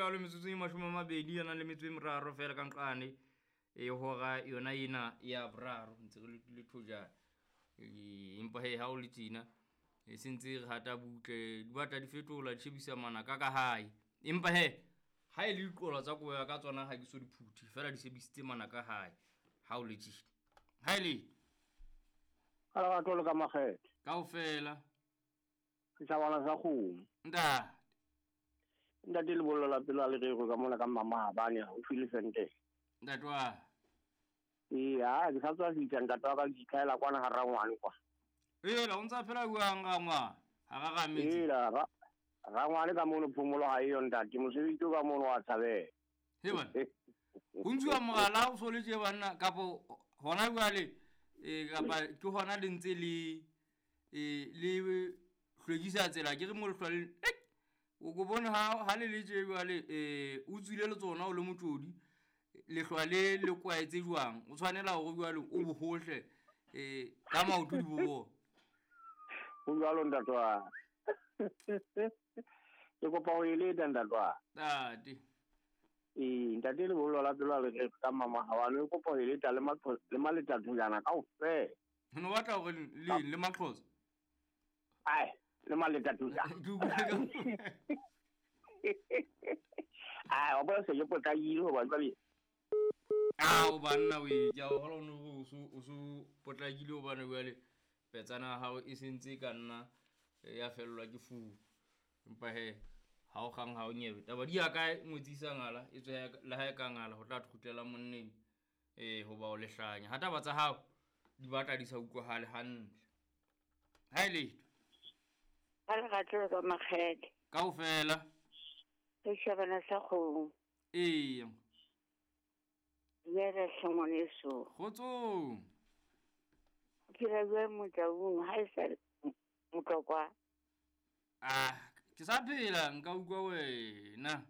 jalo metsotso e 20 a nang le metso e meraro fela ka nqane e hora yona ena ya boraro ntse re le thojana. Empa he ha o le tjena e sentse re hata butle di batla di fetola di shebisa manaka ka hae. Empa he ha e le diqola tsa kobo ya ka tsona ha ke so di phuthe fela di shebisitse manaka hae ha o le tjena. Ha e le Ka lerato le ka makgethe. Kaofela. Setjhabana sa kgomo. Ntate. Ntate lebollo la pelo a le rerwe ka mona ka Mmamahabane haufi le Sentene. Ntate wa. Ee, ha ke sa tswa fihla ntate wa ka ke itlhahela kwana ha rangwane kwa. Ela o ntsa phela jwang rangwane? Ha ra rametse. Ela rangwane ka mono phomolo ha eyo ntate, mosebetsi o ka mono wa tshabeha. He bana. Ho ntshuwa mogala o so le tje banna kapo hona jwale kapa ke hona le ntse le le hlwekisa tsela ke re mo lehlwa le o go bone ha le le tje jwale o tswile le tsona o le motjodi lehlwa le le kwaetse jwang o tshwanela hore jwale o bohohle ka maoto di bo ho jwalo ntate wa ke kopa ho eleta ntate wa ntate. Ntate lebollo la pelo a le rerwe ka Mmamahabane o kopa ho eleta le le maletathojana kaofela. No batla hore le le Maxhosa? Ai, le maletathojana. Ke utlwile ka Ai, wa bona se ke potlakile hoba jwale. Ao banna we, ke a o hola o o so potlakile hobane jwale petsana ya hao e sentse ka nna ya fellwa ke furu. Empa he ha o kgang ha o nyebe. Taba di ya kae ngwetsisa ngala e tswe le ha e ka ngala ho tla kgutlela monneng hoba o lehlanya. Ha taba tsa hao di batla di sa utlwahale hantle. Ha e letho. Ka lerato le ka makgethe. Kaofela. Setjhabana sa kgomo. Ee. Dumela hle ngwaneso. Kgotsong. O phela jwang Motaung ha e sa Motlokwa? Ah, ke sa phela nka utlwa wena.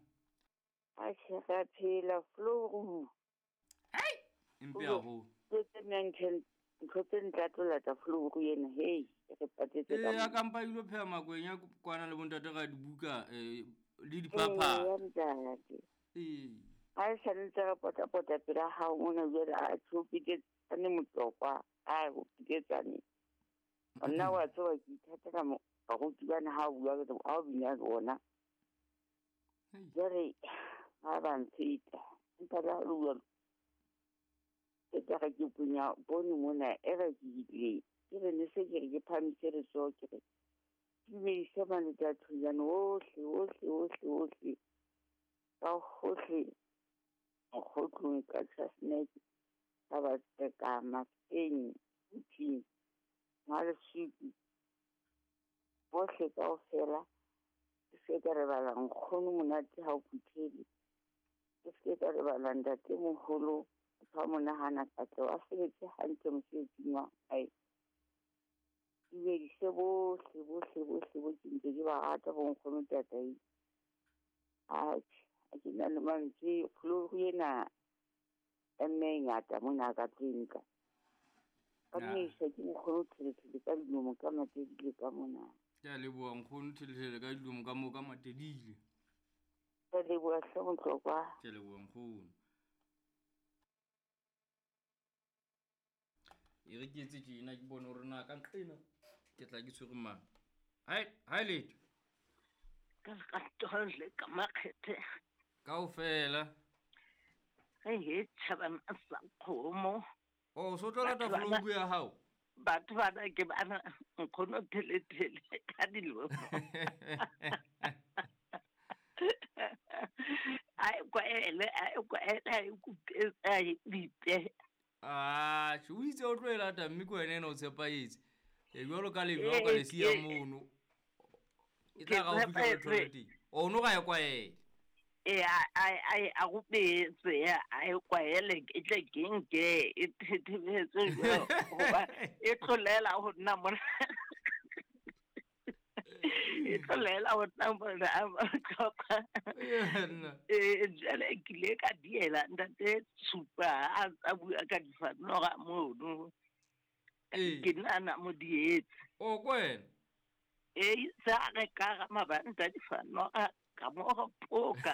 Atjhe, re a phela floru. Hei, empe haholo. Tse tse ntho tse ntlatlola floru ena, hei, re patetse ka. A kampa ile pheha makwenya kwana le bontate ra dibuka le diphapha. Ntate. Ha e sa ntse re pota-pota pela hao mona jwale a tshopiketsane Motlokwa, a hopiketsane. Nna wa tseba ke ithatela baruti bana ha o bua ha o bina le bona. Jwale ha ba mpheta. Empa le ha le bua ke tla re ke punya bone mona e re ke ile. Ke re ne se ke re ke phamise letsoho ke re dumedise maletathojana ohle ohle ohle ohle ka hohle mokgotlong ka Chasnek ka ba ka Mafeng Puting Maleswiki bohle kaofela. Ke se ka lebala nkgono monate ha o phuthele. Ke se ka lebala ntate moholo fa monahana katle a sebetse hantle mosebetsing wa hae. Dumedise bohle bohle bohle bo ke ntse ke ba rata bo nkgono tatai. Atjhe, ha ke na le mantswe floru ena e mme e ngata mona ka tlung ka. Ka mmisa ke nkgono Thelethele ka dilomo ka Matedile ka mona. Ke a leboha nkgono Thelethele ka dilomo ka moo ka Matedile. Ke a leboha hle Motlokwa. Ke a leboha nkgono. E re ke etse tjena ke bone hore na ka nqena ke tla ke tshwere mang. Hai, hai letho. Ka lerato le ka makgethe. Kaofela. Re he tjhabana sa kgomo. O so tlo lata floru ya hao? Batho bana ke bana nkgono Thelethele ka dilomo. Ai kwaele, ai kwaele, ai kupe, ai bipe. Ah, o itse o tlo e lata mme ke wena ena o tshepahetse. Jwalo ka le jwalo ka le siya mono. E tla ra o fihla o thole teng. O no ga e kwaele. Ai a rupetse ai kwaele ke tle ke nke e thethebetse jwalo hoba e tlolela ho nna mona. E tlolela ho nna mona Motlokwa. Jwale ke ile ka diela ntate Tshupa a bua ka difanora mono. Ke nna mo dietse. O kwena. Sa re ka ga mabanta difanora ka mo go poka.